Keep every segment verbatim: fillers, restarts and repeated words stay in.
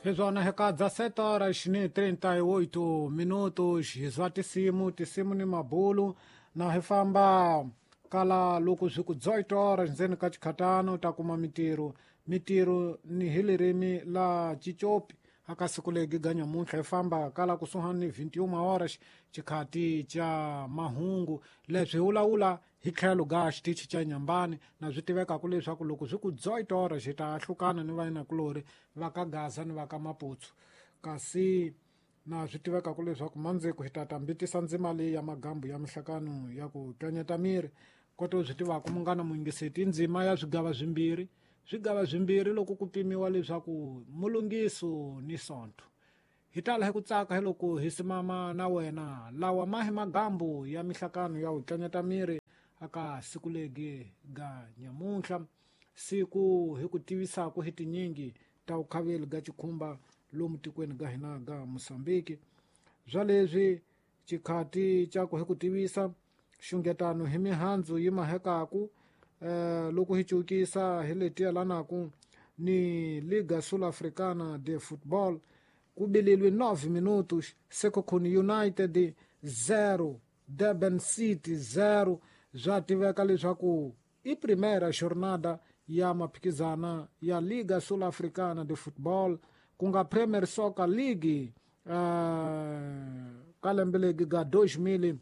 Hizwana hekadza sete horas ni trinta e oito minutos hizwa tisimu tisimu ni mabulu na hifamba kala loko swi ku dezoito horas ndzeni ka chikhatano ta kuma mitiro mitiro ni hi lirimi la chichopi aka siku legi ga nyamuntlha hi famba kala kusuhani ni vinte e uma horas chikhati cha mahungu leswi hi wulawula hi tlhelo ga xitichi cha Nyambani na swi tivekaku leswaku loko swi ku dezoito horas hi ta hlukana ni vayinakulori va ka Gaza ni va ka Maputsu kasi na swi tivekaku leswaku mandziko hi ta tambitisa ndzima leyi ya magambu ya mihlakano ya ku tlanyeta miri koto swi tivaku munghana muyingiseti i ndzima ya swigava swimbirhi swigava swimbirhi loko ku pimiwa leswaku mulungiso ni sonto hi tala hi ku tsaka hi loko hi simama na wena lawa ma hi magambu ya mihlakano ya ku tlanyeta miri aka siku legi ga nyamuntlha siku hi ku tivisaku hi tinyingi ta vukhaveli ga chikhumba lomu tikweni ga hina ga Mosambiki bya leswi chikhati cha ku hi ku tivisa xungetano hi mihandzu yi mahekaku eh, loko hi cukisa hi leti yelanaku ni Liga Sul-Africana de Football ku bililwe nove minutos Sekhukhune United zero Durban City zero bya tiveka leswaku i primeira jornada ya maphikizana ya Liga Sul-Africana de Football ku nga Premier Soccer League uh, ka lembe legi ga dois mil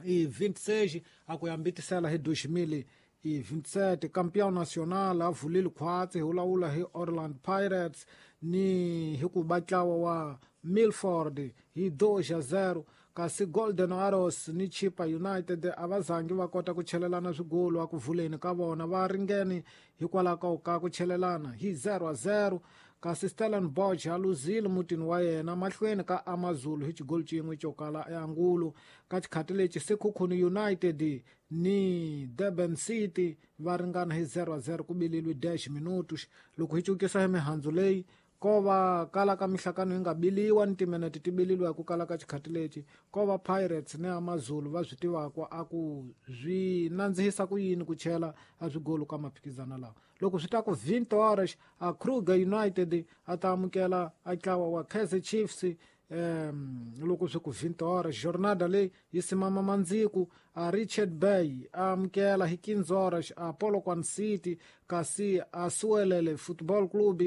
e vinte e seis a ku yambitisela hi dois mil e vinte e sete campeão nacional a vulile khwatsi hi wulawula hi Orlando Pirates ni hi ku ba ntlawa wa Milford hi dois a zero kasi Golden Arrows ni Chippa United a va zangi va kota ku chelelana swigolo a ku vuleni ka vona va ringene hikwalaho ka ku chelelana hi zero a zero kasi Stellenbosch a luzile mutini wa yena mahlweni ka AmaZulu hi xigolo xin'we xo kala eAngulo ka xikhati lexi Sekhukhune United ni Durban City va ringana hi zero a zero ku bililwe dez minutos loko hi cukisa hi mihandzu leyi ko va kala ka mihlakano yi nga biliwa ni timinete ti bililiwa hi ku kala ka xikhati lexi ko va Pirates ni AmaZulu va swi tivaku a ku swi nandzihisa ku yini ku chela a swigolo ka maphikizana lawa loko swi ta ku vinte horas a Kruger United a ta amukela a ntlawa wa Kaizer Chiefs um loko swi ku vinte horas jornada leyi yi simama mandziku a Richard Bay a amukela hi quinze horas a Polokwane City kasi a Suelele Football Club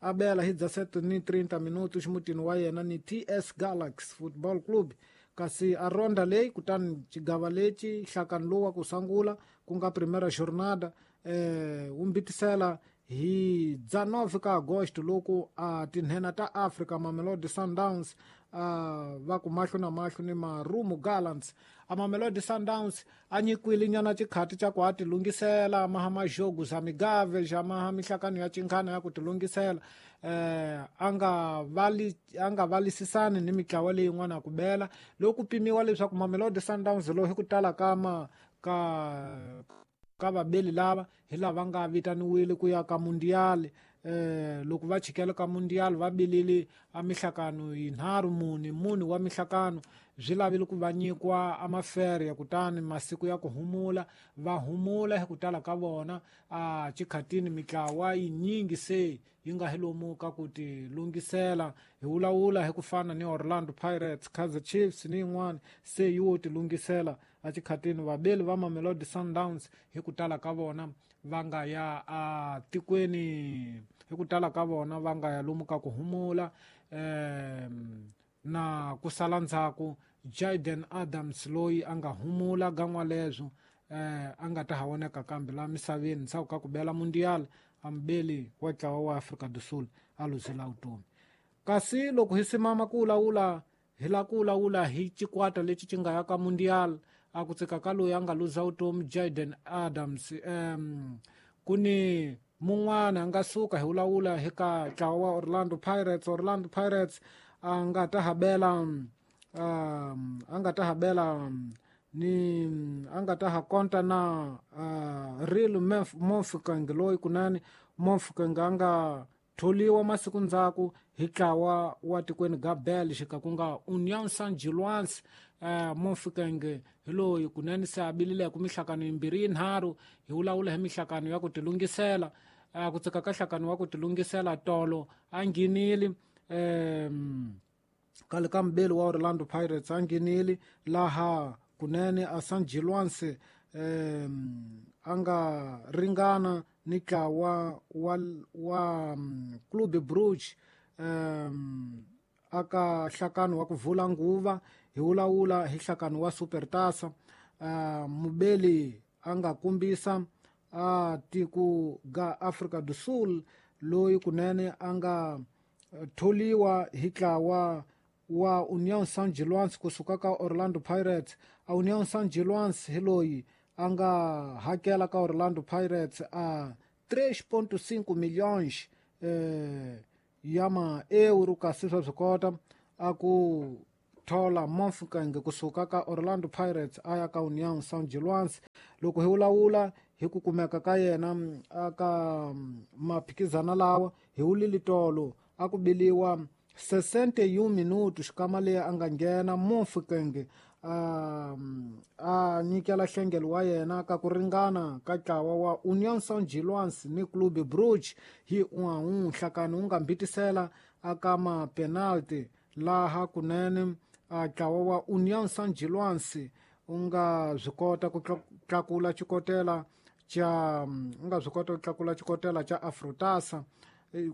a bela hi dezessete ni trinta minutos mutini wa yena ni T S Galaxy Football Club kasi a ronda leyi kutani xigava lexi nhlakano lowu wa ku sungula ku nga primeira jornada eh wu mbitisela hi dezenove ka agosto loko a tinhena ta Africa Mamelodi Sundowns uh, va ku mahlo na mahlo ni Marumo Gallants a Mamelodi Sundowns a nyikwile nyana xikhati xa ku a ti lunghisela maha majogo za migave xa maha mihlakano ya chinkhana ya ku ti lunghisela eh a nga vali a nga valisisani ni mitlawa leyin'wana ku bela loko pimiwa leswaku Mamelodi Sundowns lowu hi ku tala ka ma ka ka vabeli lava hi lava nga vitaniwile ku ya ka mundial eh loko va chikela ka mundial va bilile a mihlakano yinharhu mune mune wa mihlakano byi lavile ku va nyikwa a mafere kutani masiku ya ku humula va humula hi ku tala ka vona a chikhatini mitlawa yinyingi se yi nga hi lomu ka ku ti lunghisela hi wulawula hi ku fana ni Orlando Pirates Kaizer Chiefs ni yin'wana se yi wo ti lunghisela a chikhatini vabeli va Mamelodi Sundowns hi ku tala ka vona va nga ya a tikweni hi ku tala ka vona va nga ya lomu ka ku humula um na ku sala ndzhaku Jaden Adams loyi a nga humula gan'wa leswo eh a nga ta ha voneka kambe la misaveni ndzhaku ka ku bela mundial a mubeli wa ntlawa wa Afrika do Sul a luzela vutomi kasi loko hi simama ku wulawula hi la ku wulawula hi xikwata lexi xi nga ya ka mundial a ku tsika ka loyi a nga luza vutomi Jaden Adams um ku ni mun'wana a nga suka hi wulawula hi ka ntlawa wa Orlando Pirates Orlando Pirates a nga ta habela um a nga ta habela ni a nga ta ha konta na uh, Real Mofokeng loyi kunene Mofokeng a nga tholiwa masiku ndzhaku hi ntlawa wa tikweni ga Belgica ku nga Union Saint-Gilloise uh, Mofokeng hi loyi kunene se a bilile ku mihlakano yimbirhi yinharhu hi wulawula hi mihlakano ya ku tilunghisela a ku tsika ka nhlakano wa ku tilungisela tolo a nghenile um kale ka mubeli wa Orlando Pirates a nghenile laha kunene a San Giluanse um a nga ringana ni ntlawa wa wa Clube Brugge um aka nhlakano wa ku vula nguva hi wulawula hi nhlakano wa Supertaça. Uh, mubeli a nga kombisa a tiko ga Afrika do Sul loyi kunene a nga tholiwa hi ntlawa wa União São Giluanse kusuka ka Orlando Pirates. A União São Giluanse hi loyi a nga hakela ka Orlando Pirates a três ponto cinco milhões eh, ya ma-euro kasi swa swi kota a ku thola Mofokeng kusuka ka Orlando Pirates a ya ka União São Giluanse. Loko hi wulawula hi ku kumeka ka yena aka maphikizana lawa hi wulile tolo a ku biliwa sessenta e um minutos xikama leyi a nga nghena Mofokeng a a nyikela nhlengelo wa yena ka ku ringana ka ntlawa wa União São Giluanse ni Clube Brugge hi un a un. Nhlakano wu nga mbitisela aka ma-penalty laha kunene a ntlawa wa União São Giluanse u nga swi kota ku tlakula xikotela xa u nga swi kota ku tlakula xikotela xa Afrotasa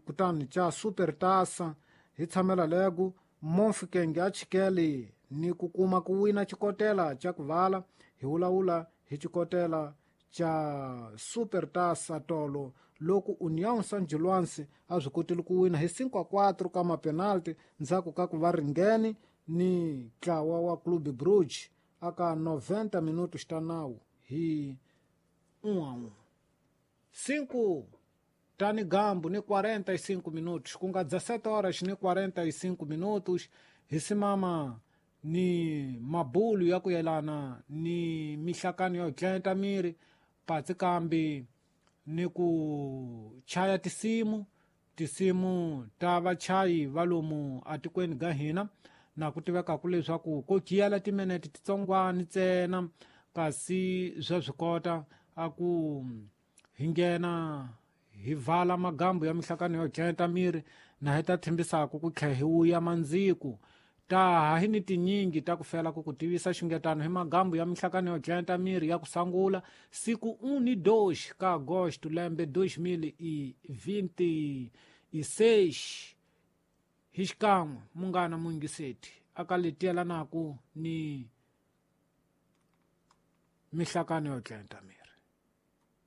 kutani xa Supertaça. Hi tshamela lego Mofokeng a chikele ni ku kuma ku wina xikotela xa ku vala hi wulawula hi xikotela xa Supertaça tolo loko União São Giluanse a swi kotile ku wina hi cinco a quatro ka mapenalty ndzhaku ka ku va ringene ni ntlawa wa Clube Brugge aka noventa minutos ta nawu hi um a um. Cinco tani gambu ni quarenta e cinco minutos ku nga dezessete horas ni quarenta e cinco minutos hi simama ni mabulu ya ku yelana ni mihlakano yo tlenta miri patsi kambi ni ku chaya tisimu tisimu ta vachayi va lomu atikweni ga hina na ku tivekaku leswaku ko giyela timinete titsongwani ntsena kasi swa swi kota a ku hi nghena hi vala magambu ya mihlakano yo tlenta miri na hi ta tshembisaku ku tlhela hi wuya mandziku ta ha hi ni tinyingi ta ku fela ku ku tivisa xungetano hi magambu ya mihlakano yo tlenta miri ya ku sangula siku um ni dois ka agosto lembe dois mil e vinte e seis hi xikan'we munghana muyingiseti aka letiyelanaku ni mihlakano yo tlenta miri.